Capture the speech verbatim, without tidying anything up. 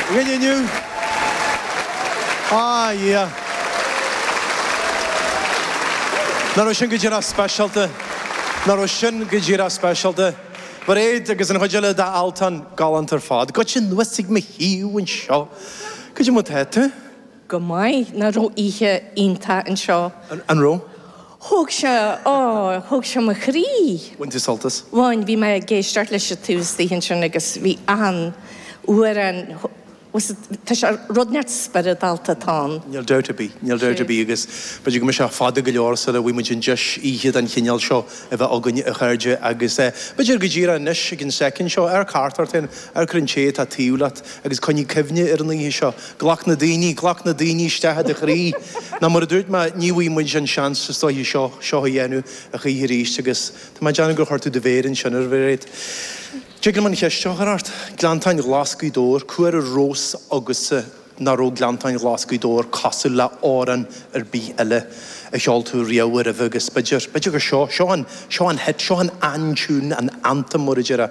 Againn inniu. Ah, yeah. Nach raibh sin go díreach speisialta? Nach raibh sin go díreach speisialta? Mairéad agus an chuid eile d'Altan galánta ar fad. Goitse anuas ag mo thaobh anseo. Cad é mar atá tú? Go maith. Nach raibh oíche iontach anseo? An raibh? Thóg sé, ó, thóg sé mo chroí. Bhain tú sult as? Bhain, bhí mé ag éisteacht leis an taobh istigh ansin agus bhí achan amhrán, tá sé, rud inteacht spioradálta atá ann. Níl dabht ar bith, níl dabht ar bith agus b'fhéidir go mbeidh sé fada go leor sula bhfaighidh muid an deis oíche den chineál seo a bheith againn, a chairde, agus b'fhéidir go díreach anois ag an soicind seo, amharc thart ort féin, amharc ar an té atá taobh leat agus coinnigh cuimhne ar an oíche seo. Glac na daoine, glac na daoine isteach i do chroí. Nó mar a dúirt mé, ní bhfaighidh muid an seans is dóiche seo, seo a dhéanamh a choíche arís agus tá mé ag déanamh gur chuir tú do mhéar ansin ar Mhairéad. Tig liom an cheist seo a chur ort. Gleanntáin Ghlas Ghaoth Dobhair, cá huair a raibh fhios agatsa nach raibh Gleanntáin Ghlas Ghaoth Dobhair cosúil le amhrán ar bith eile a cheol tú riamh roimhe agus b'fhéidir, b'fhéidir gur seo, seo an, seo an hit, seo an an-tune, an anthem mar a déarfá.